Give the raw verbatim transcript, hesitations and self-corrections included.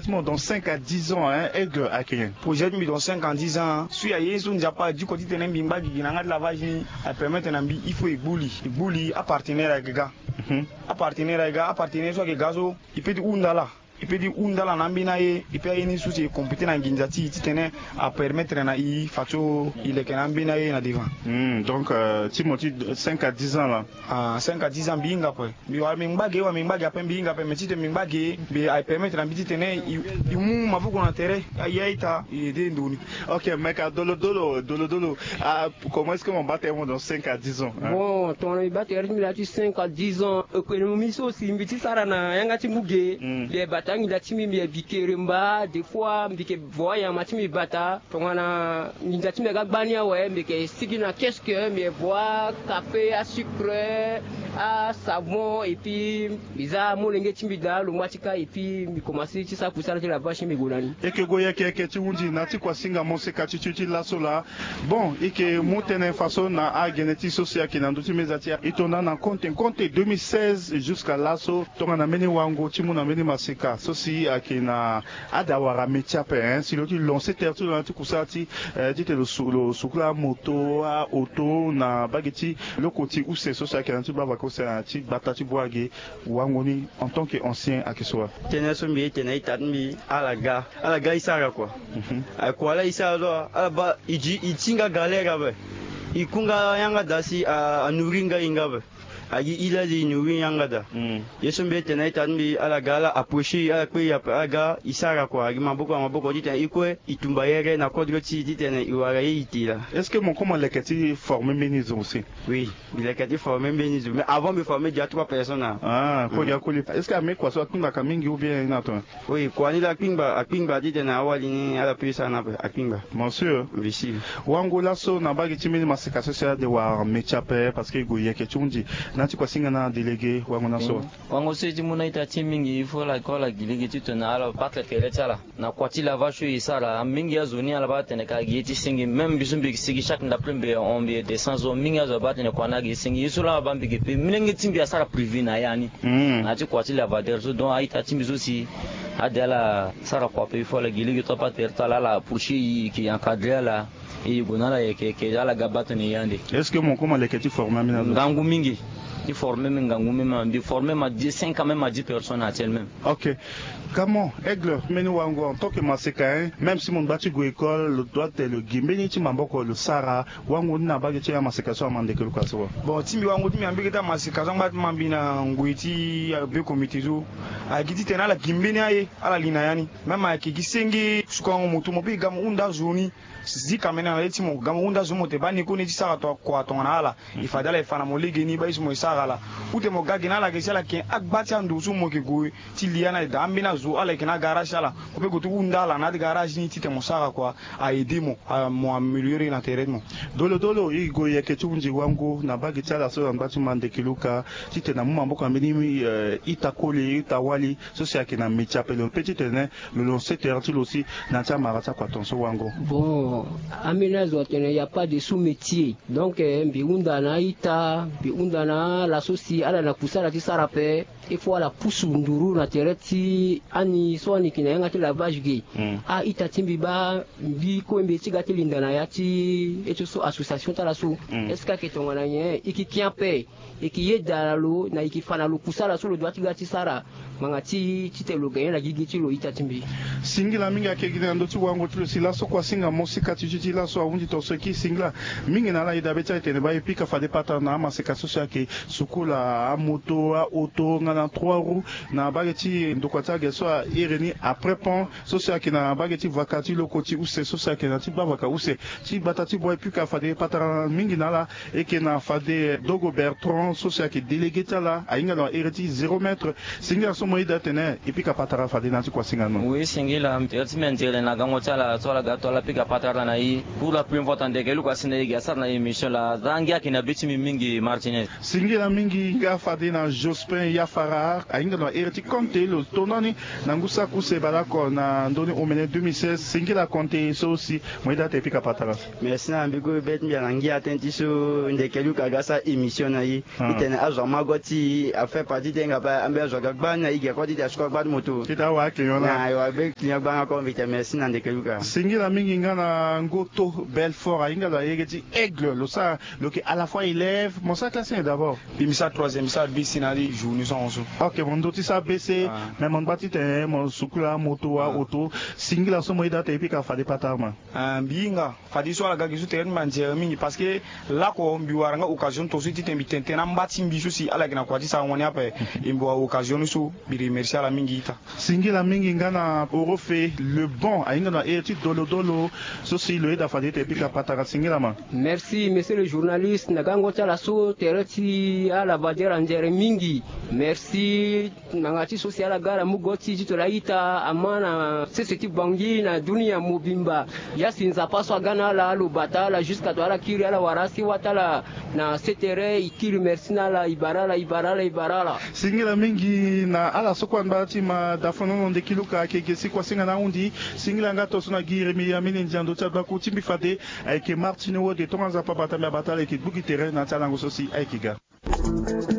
Mo dans cinq à dix ans, hein, Aigle ayeke nyen? Projet ti mbi dans cinq à dix ans, hein. So aye so Nzapa adiko titene mbi ngba gigi na yanga ti lavage ni, apermettre na mbi il faut e gbu li, e gbu li, apartenaire ayeke ga. Mhm. Apartenaire ayeke ga, apartenaire so ayeke ga so, e peut ti hunda ala, e peut ti hunda ala na ambeni aye, e peut aye ni so si e compléter na nginza ti e titene apermettre na e fadeso e leke na ambeni aye na devant. Hmm, donc, euh, ti mo ti cinq à dix ans là. Ah, cinq à dix ans mbi hinga ape. Mbi wara mbi ngba ge, wara mbi ngba ge ape, mbi hinga ape, mais titene mbi ngba ge, mbi aye permettre na mbi titene e, e mu maboko na tere, aye a-ita, e aide ndo ni. Ok, Meka, Dolo Dolo, Dolo Dolo. Ah, comment est-ce que mo baa tere mo dans cinq à dix ans, hein? Bon, tongana mbi baa tere ti mbi na ya ti cinq à dix ans, économie so si mbi ti sara na yanga ti mbi ge. Hmm. Mbi aye bata nginza ti mbi, mbi aye bi keremba, des fois mbi yeke vo anyama ti mbi bata. Tongana nginza ti mbi aga gbani awe, mbi yeke sigi na keske, mbi vo akafe, asucre, asavon, et puis mbi za amolenge ti mbi daa, lo ngba ti ka, et puis mbi komanse ti sara kusala ti lavage, mbi gue na ni. E yeke gue yeke yeke ti hunzi na ya ti kuasinga moseka ti ti ti laso laa. Bon, e yeke mu tënë faso na agene ti e so si ayeke na ndö ti meza ti e, e to na na konte konte deux mille seize jusqu'à laso, tongana mbeni wango ti mu na mbeni maseka so si ayeke na Ada wara métier ape, hein, si lo ti lancer tere ti lo na ti kusala ti, eh, titene lo su-, lo sukula amoto, aoto na mbage ti loko ti use so si ayeke na ti bavaka use na ti gbata ti bua ge, wango ni en tant que ancien ayeke so wa? Tënë so mbi ye tene na ita ti mbi, ala ga, ala ga e sara kua. Mhm. Ayeke kua laa e sara so, ala baa e di, e ti nga galère ape. E ku nga yanga daa si a, a nourrir nga e nga ape. Agi e laa e nourrir yanga daa. Mm. Ye so mbi ye tene na ita ti mbi, ala ga ala approcher e, ala kpe e ape, ala ga e sara kua. Agi maboko na maboko titene e kue e tumba yere na kodro ti e titene e wara ye e te laa. Est-ce que mo koma leke ti former mbeni zo aussi? Oui, mbi leke ti former mbeni zo. Mais avant mbi former déjà trois personnes, ah. Ah, kue gi akoli. Est-ce que ame kua so akpingbaka mingi ou bien e na tongana? Oui, kua ni laa akpingba, akpingba titene awali ni ala peut sara ni ape, akpingba. Bien sûr. Bien sûr. Wango laso na mbage ti mbeni maseka so si ade wara métier ape, parce que e gue yeke ti hunzi na ya ti kuasinga na délégué wango na so. Mm. Wango so e ti mu na ita ti e mingi, il faut ala ko ala gi lege titene ala batre tere ti ala na kua ti lavage so e sara. Mingi azo ni ala baa atene ka gi ye ti senge. Même mbi so mbi yeke sigi chaque ndapre mbi hon mbi descend so, mingi azo abaa atene kua ni agi e senge. Ye so laa abaa mbi yeke pe, molenge ti mbi asara privé na ya ni. Mm. Na ya ti kua ti lavateur so, donc a-ita ti mbi so si ade ala sara kua ape, il faut ala gi lege ti apatere ti ala, ala approcher e, e yeke encadrer ala, e gue na ala yeke yeke, ala ga baa tene e yande. Est-ce que mo koma leke ti former ambeni azo? Ngangu mingi. Ti former mbi ngangu même, mbi former ma dix, cinq à même à dix personnes actuellement. Ok. Comment, Aigle, mbeni wango en tant que maseka, hein, même si mo ngba ti gue école, lo doit te lo gi mbeni ti maboko lo sara wango ni na mbage ti amaseka so ama ndeke luka so wa? Bon, ti mbi wango ti mbi na mbage ti amaseka so angba ti ma mbi na ngoi ti abe comité so, agi titene ala gi mbeni aye, ala li na ya ni. Même ayeke gi senge, sukango moto mo pe e ga mo hunda zo ni. Zika mene na le ti mo ga mo hunda zo ni mo te baa ni kue ni ti sara to kua tongana ala. E fade ala e fa na mo legeni baa ye so mo e sara ala. Ou te mo ga gi na ala ge si ala yeke agba ti ando so mo yeke gue ti li ya ni daa ambeni azo ala yeke na agarage ti ala. Mo pe gue ti hunda ala na agarage ni titene mo sara kua, a aider mo, a mo améliorer na tere ti mo. Dolo dolo, e gue yeke ti hunzi wango na mbage ti ala so angba ti ma ndeke luka titene amu maboko na mbeni, eh, ita koli, ita wali so si ayeke na métier ape, lo pe titene lo lancer tere ti lo si na ya ti amara ti akua tongaso wango. Bon, ambeni azo atene il y a pas de sous-métier. Donc, eh, mbi hunda na a-ita, mbi hunda na ala so si ala na kusala ti sara ape. Il faut ala pusu nduru na tere ti ani so ani yeke na yanga ti lavage ge. Hmm. A-ita ti mbi baa mbi kue mbi ye ti ga ti linda na ya ti ye ti so association ti ala so. Hmm. Est-ce que ayeke tongana nyen? E yeke ki ape. E yeke yeda na lo, na e yeke fa na lo kusala so lo doit ti ga ti sara. Ngbanga ti titene lo gagner na gigi ti lo, ita ti mbi. Singila mingi ayeke gi na ndö ti wango ti lo si laso kuasinga mosika ti ti ti laso ahunzi tongaso e kiri singila mingi na ala. E dabe ti ala e tene baa e pika fade patara na amaseka so si ayeke sukula amoto, aoto nga na trois roues na mbage ti ndokua ti age so a iri ni après pont so si ayeke na mbage ti vaka ti loko ti use so si ayeke na ti bavaka use ti gbata ti boi. E pika fade patara mingi na ala. E yeke na fade Dogo Bertrand so si ayeke délégué ti ala, ahinga lo na iri ti zéro mètre. Singila so mo yeda atene e pika patara fade na ya ti kuasinga no. Oui, singila, tere ti mbi anzere na gango ti ala so ala ga to ala pika patara na e. Pour la première fois tandeke luka si na e gi asara na émission laa, aza ngia ayeke na be ti mbi mingi, Martinez. Singila mingi nga fade na Jospin Yafa. Ahinga na here ti konte lo tondani na ngu saki use baleoko na ndoni omene deux mille seize. Singila konte so si mo yeda ate pika patara. Merci na mbi gue beti mbi ala ngia ten ti so ndeke luka ga sa émission na ye. Itene azo ama go ti afaire parti te nga pa ambe azo aga gbani na ige ko ti te asuko gbani moto ti te awa client na awa be client gbani ako mbi te. Merci na ndeke luka. Singila mingi nga na ngoto Belfort ahinga la yege ti aigle lo sa lo ke à la fois élève mo sa classe d'abord. Mbi mbi sa troisième mbi sa bisi na li jour ni so. Ok mo ndo ti sa bese. Mais mo ngba ti te mo sukula moto wa auto. Singila so mo yeda te pika fade patara ma. Mbi hinga fade so ala ga gi so tere ni mbi anzere mingi parce que lako mbi wara nga occasion ni to so ti te mbi tene tene amba ti mbi so si ala yeke na kua ti sara wani ape. E mbi wara occasion ni so mbi remercie ala mingi ita. Singila mingi nga na orofe le bon ahinga na here ti dolodolo so si lo yeda fade ete pika patara singila ma. Merci monsieur le journaliste na gango ti ala so tere ti ala vadiere anzere mingi. Merci. Nanga ti so si ala ga ala mu go ti titolo aita ama na sese ti bangi na dunia mobimba. Ya si nzapa so aga na ala alo bata ala jusqu'à to ala kiri ala wara asi wata ala na setere i kiri merci na ala i bara ala i bara ala i bara ala. Singila mingi na ala so kue angba ti ma dafono na ndeki luka ayeke ge si kua singa na ahundi. Singila nga to so na gi yeremi amini ndia ndo ti agbaku ti mbi fade ayeke martini wode tonga nzapa bata mbi abata ala ayeke gbu gi tere na ya ti alango so si ayeke ga.